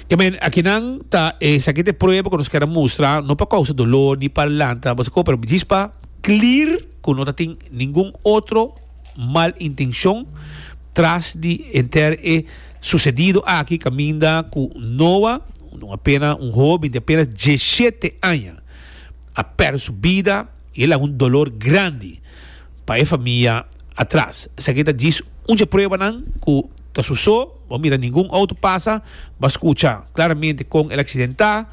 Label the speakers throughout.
Speaker 1: Ke men akinan ta esaki ta e prueba ku nos kier a mustra, no pa kousa dolor ni pa lanta boso kos, pero djis pa clear ku no ta tin ningun otro mal intenshon tras di henter e susedido aki kaminda ku Noah, un apena un hoben di apenas diesshete aña, a pèrdè su bida i e laga un dolor grandi pa e famia atras. Esaki ta djis un dje pruebanan ku ta su so, bo a mira ningun outo pasa, bo a skucha klaramente kon el aksidentá,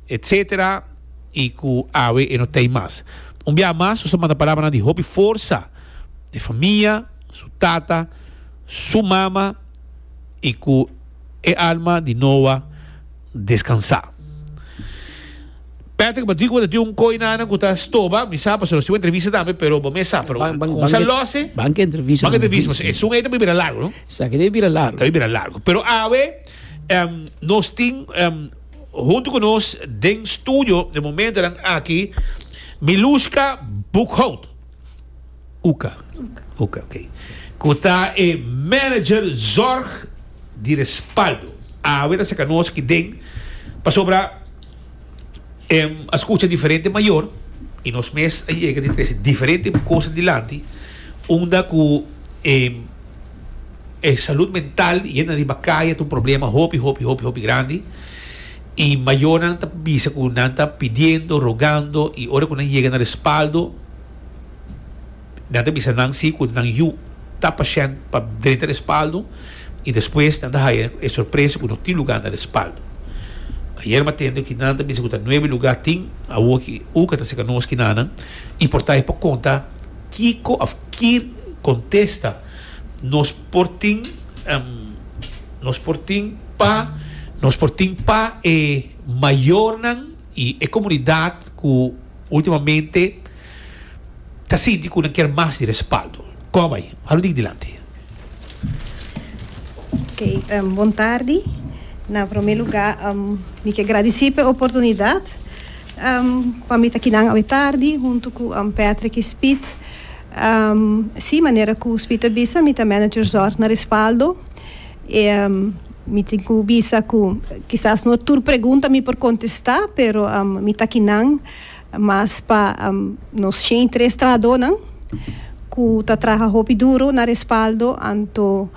Speaker 1: etcetera, i ku awe e no t'ei mas. Un biaha mas nos ta manda palabranan di hopi forsa na e famia, su tata, su mama i ku e alma di Noah deskansá. Patrick, bo di ku bo ta tin un koi nana ku ta stoba, mi sa pasobra nos tin un entrevista tambe, pero bo mes sa, pero ku sa lose.
Speaker 2: Ban ke entrevista.
Speaker 1: Ban ke entrevista, pasobra esun ei ta bira largu, no?
Speaker 2: Esaki ta bira largu.
Speaker 1: Ta bira largu. Pero awe nos tin huntu ku nos den studio den momentonan aki Milushka Boekhout. Uka. Uka, ok. Ku ta e manager zorg di Respaldo. Awe ta saka nos aki den pasobra em a skucha diferente mayor i nos mes a yega di trese diferente kos dilanti unda ku e e salud mental yenda riba kaya ta un problema hopi hopi hopi hopi grandi i mayornan ta bisa ku nan ta pidiendo, rogando i ora ku nan yega na Respaldo Nan ta bisa nan si cu nan yu ta pashent pa drenta respaldo y despues nan ta haya e sorpresa cu no tin lugar na respaldo. Ayer mi a tende cu nan ta bisa cu ta nuebe lugar tin, awor ki Uka ta seca nos kinanan y por ta e por conta kico of ki contesta nos por tin nos por tin pa nos por tin pa e mayornan y e comunidad cu ultimamente ta sinti ku nan kier mas di respaldo. Kon a bai? Halu dik dilanti.
Speaker 3: Ok, bon tardi. Na prome luga mi ke gradisí pa e oportunidat pa mi ta kinan awe tardi huntu ku Patrick i Speed. Sí, manera ku Speed a bisa mi ta manager zorg na Respaldo. E mi tin ku bisa ku kisas no tur pregunta mi por kontestá, pero mi ta kinan Mas pa nos 103 trahadónan ku ta traha hopi duro na respaldo, anto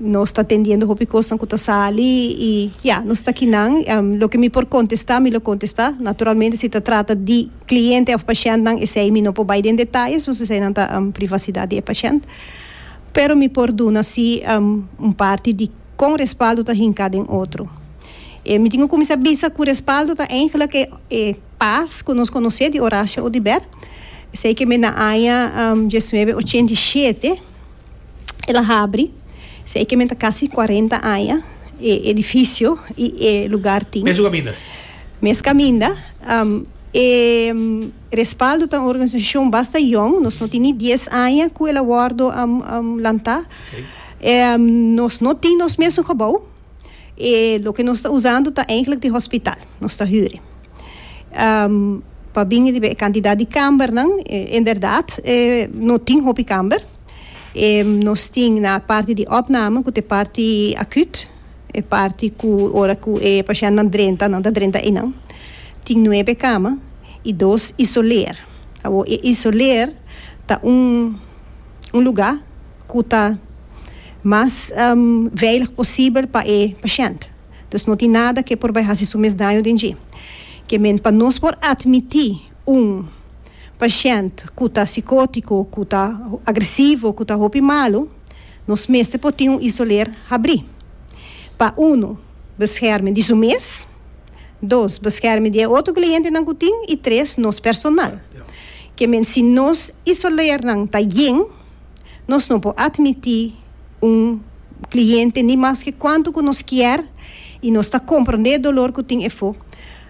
Speaker 3: nos ta atendiendo hopi kosnan ku ta sali i ya, nos ta kinan. Loke mi por kontestá, mi lo kontestá. Naturalmente si ta trata di kliente òf pashèntnan esei mi no por bai den detayes pasobra eseinan ta privasidat di e pashènt. Pero mi por duna si un parti di kon respaldo ta hinká den otro. E mi tin ku kuminsá bisa ku respaldo ta eigenlijk e e pas ku nos konosé di Horacio Oduber. Esei ke men na aña diesnuebe ochenta i shete el a habri. Esei ke men ta kasi kuarenta aña e edifisio i e lugar tin.
Speaker 1: Mes kaminda.
Speaker 3: Mes kaminda. E respaldo ta un organisashon basta yòn. Nos no tin ni dies aña ku el a wòrdu lantá. Nos no tin nos mesun gebou. E loke nos ta usando ta eigenlijk di hospital, nos ta huur e. Pa bin riba e kantidat di kambernan, inderdat no tin hopi kamber. Nos tin na parti di opname ku ta e parti akut, e parti ku ora ku e pashèntnan drenta, nan ta drenta einan. Tin nuebe kama i dos isoleer. Awor e isoleer ta un lugá ku ta mas veilig posibel pa e pashènt. Dus no tin nada ke por bai hasi su mes daño den dje. Ke men pa nos por atmití un pashènt ku ta sikótiko, ku ta agresivo, ku ta hopi malu, nos mester por tin un isoler habrí. Pa unu, bescherming di su mes, dos, bescherming di e otro klientenan ku tin i tres, nos personal. Ke men si nos isolernan ta yen, Nos no por admití un cliente ni maske cuanto cu nos kier y nos ta comprende e dolor cu tin efo.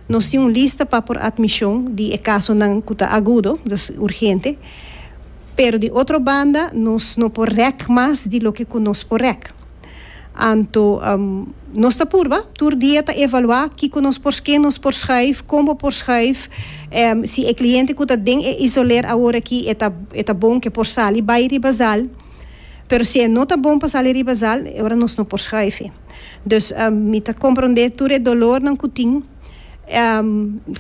Speaker 3: Nos tin un lista pa por admision di e casonan cu ta agudo, dus urgente, pero di otro banda nos no por rek mas di loke cu nos por rek. Anto nos ta purba, tur dia ta evaluá kiko nos por ske nos por schuif, kon bo por schuif, si e kliente ku ta den e isoler awor aki e ta e ta bon ke por sali bai riba zal. Pero si e no ta bon pa sali riba zaal, e ora nos no por schuif e. Dus mi ta comprende tur e dolornan cu tin.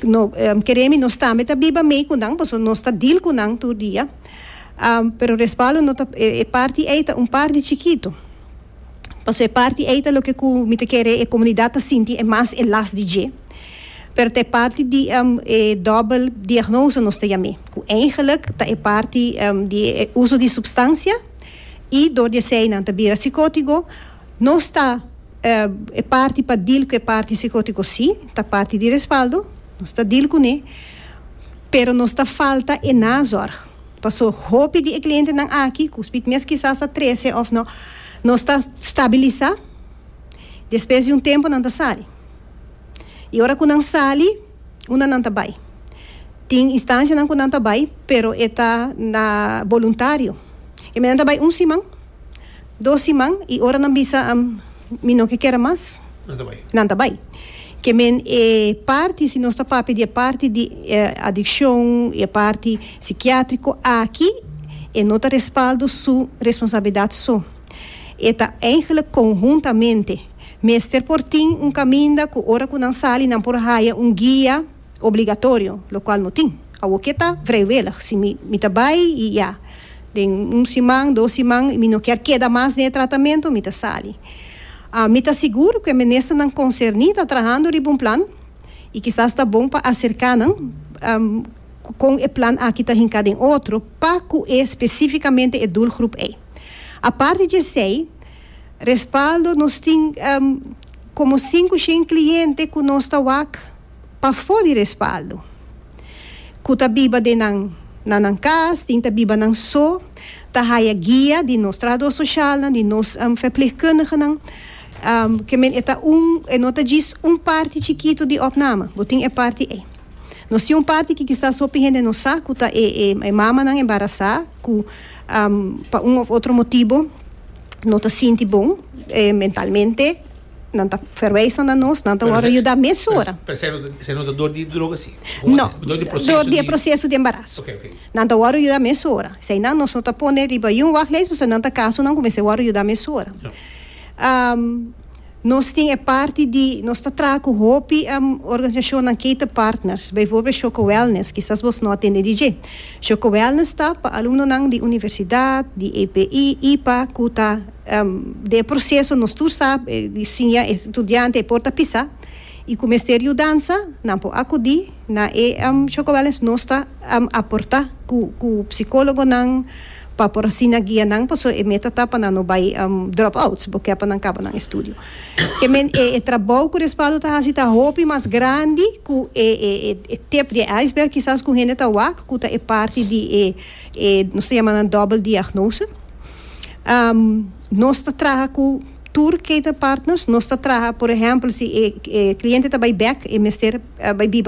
Speaker 3: No, kere mi, nos tambe ta biba mee cu nan, pasobra nos ta deal cu nan tur dia. Pero Respaldo no ta, e parti ey ta un parti chikito. Pasobra e parti ey ta loke cu mi ta kere e comunidad ta sinti e mas e las di dje. Pero ta e parti di e dobbel diagnose nos ta yam'é, cu eigenlijk ta e parti di e uso di substancia y door di esey nan ta bira psicotico. Nos ta e parti pa deal cu e parti psicotico si, ta parti di Respaldo, nos ta deal cune, pero nos ta falta e nazorg. Paso hopi di e clientenan aki, cu Speed mes kisas ta trece of no, nos ta stabilisa, despues di un tempo nan ta sali. Y ora cu nan sali, unda nan ta bay? Tin instancianan cu nan ta bay, pero e ta na boluntario. E nan ta bay un siman, 2 siman, y ora nan bisa, "Mi no ke kere mas",
Speaker 1: nan ta bay.
Speaker 3: Nan ta bay. Ke men e parti, si nos ta papia di e parti di adiccion, e parti psikiatrico aki, e no ta Respaldo su responsabilidad so. E ta eigenlijk conhuntamente. Mester por tin un caminda cu ora cu nan sali nan por haya un guia obligatorio, lo cual no tin. Awo ke ta vrijwillig. Si mi ta bay y ya, den un siman, 2 siman, mi no kier keda mas den tratamento, mi ta sali. Mi ta sigur cu e ministernan concerni ta trahando riba un plan y kisas ta bon pa acerca nan con e plan aki ta hinca den otro pa cu e specificamente e doelgroep ei. Aparte di esey, Respaldo nos tin como 500 cliente cu nos ta wak pafo di Respaldo. Cu ta biba den nan na nan cas, tin ta biba nan so, ta haya guia di nos trahador social, di nos verpleegkundigen. Ke men e ta un, e no ta djis un parti chikito di opname, bo tin e parti ei. Nos tin un parti cu kisas hopi hende no sa, cu ta e mamanan embarasa, cu pa un of otro motibo no ta sinti bon mentalmente, nan ta verwijzen na nos, nan ta wordo yuda mesora.
Speaker 1: Pero esey no ta door di droga si?
Speaker 3: No,
Speaker 1: door di proceso
Speaker 3: door di proceso di embaraso.
Speaker 1: Ok.
Speaker 3: Nan ta wordo yuda mesora. Esey nan nos no ta pone riba un wachtlijst, pasobra nan ta casonan cu mester wordo yuda mesora. Nos tin e parti di, nos ta traha cu hopi organisacionnan ketenpartners, bijvoorbeeld Choco Wellness, kisas bo no a tende di dje. Choco Wellness ta pa alumnonan di universidad, di EPI, IPA, cu ta den proceso, nos tur sa, di siña estudiante e por ta pisa, y cu mester yudansa, nan por acudi na e Choco Wellness, nos ta aporta cu psicologonan, pa por asina guia nan, paso e meta ta pa nan no bay dropouts, bo ke pa nan caba nan estudio. Ke men e trabou cu Respaldo ta haci ta hopi mas grandi cu e tip di iceberg kisas cu hende ta wak, cu ta e parti di e nos ta yama nan dobbel diagnose. Nos ta traha cu tur ketenpartners, nos ta traha, por ehempel, si e cliente ta bay bek, e mester bay biba.